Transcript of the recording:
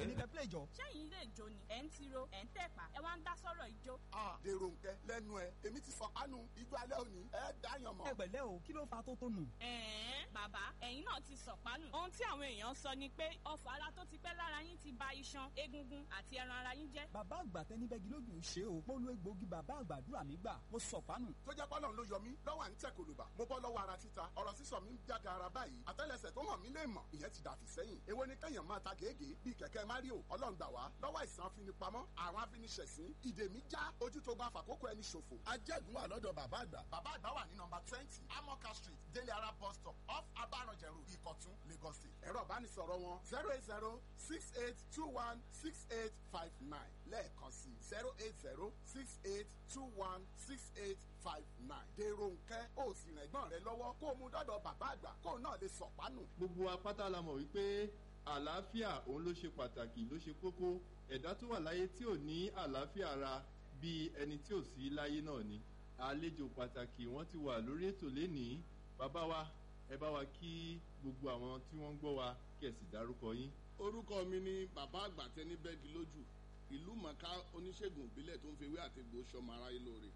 Èmi kẹ́ play jọ. Ṣẹ́yìn ilé ìjó ni ẹ̀ ń tiro, ẹ̀ ń tẹ̀pá, ẹ wá ń dá sọ̀rọ̀ ìjó? Dèrò nkẹ lẹ́nu ẹ, èmi ti sọ kánú ijó alẹ́ òní, ẹ dáyàn mọ́. Ẹ pẹ̀lẹ́ o, kí ló fa tó tó nù? Ẹ̀ẹ́n, bàbá, ẹ̀yin náà ti sọ̀pánù. Ohun tí àwọn èèyàn sọ ni pé ọfọ̀ ara tó ti pẹ́ lára yín ti ba iṣan, egungun àti ẹran ara yín jẹ́. Bàbá àgbà tẹnibẹ́gi lójú ṣe o. Mo lo egbòogi bàbá àgbàdúrà mi gbà. Mo sọ̀pánù. Tó jẹ́ pọ́lọ́n ló yọ mí lọ́wọ́ à ń tẹ̀ kòlùbà, mo bọ́ lọ́wọ́ ara títa, ọ̀rọ̀ sísọ mi ń jáde ara báyìí, àtẹ́lẹsẹ̀ tó hàn mí lè mọ̀, ìyẹn ti dàfí sẹ́yìn. Èwo ni kẹ́yàn máa ta gègé bíi kẹ̀kẹ́ Mario? Ọlọ́run gbà wá lọ́wọ́ àìsàn afinipamọ́, àwọn afiniṣẹ̀sín, ìdè mi já, ojú tó bá fàkókò ẹni ṣòfò. Ajẹ́gun wà lọ́dọ̀ bàbá àgbà. Bàbá àgbà wà ní nọmba 20, Amoka Street, Délé Ara bus stop, off Abaranjẹ Road, Ìkọ̀tún, Lagos State. Ẹ̀rọ ìbánisọ̀rọ̀ wọn 08068216859, lẹ́ẹ̀kan sí 08068216859. Dèrò nkẹ́, ó sì rìn ẹ̀gbọ́n rẹ lọ́wọ́ kó o mú dọ́dọ̀ bàbá àgbà kó o náà lè sọ̀pánù. Gbogbo apáta la mọ̀ wípé àlàáfíà òun ló ṣe pàtàkì, ló ṣe kókó. Ẹ̀dá tó wà láyé tí ò ní àlàáfíà ara, bíi ẹni tí ò sí láyé náà ni. Àlejò pàtàkì wọ́n ti wà lórí ètò lénìí. Bàbá wa, ẹ bá wa kí gbogbo àwọn tí wọ́n ń gbọ́ wa, kí ẹ sì dárúkọ yín. Orúkọ mi ni bàbá àgbà tẹni bẹ́ẹ̀gì lójú, ìlú mọ̀ká, oníṣègùn ìbílẹ̀ tó ń fi ewé àti egbò sọmọ aráyé lóore.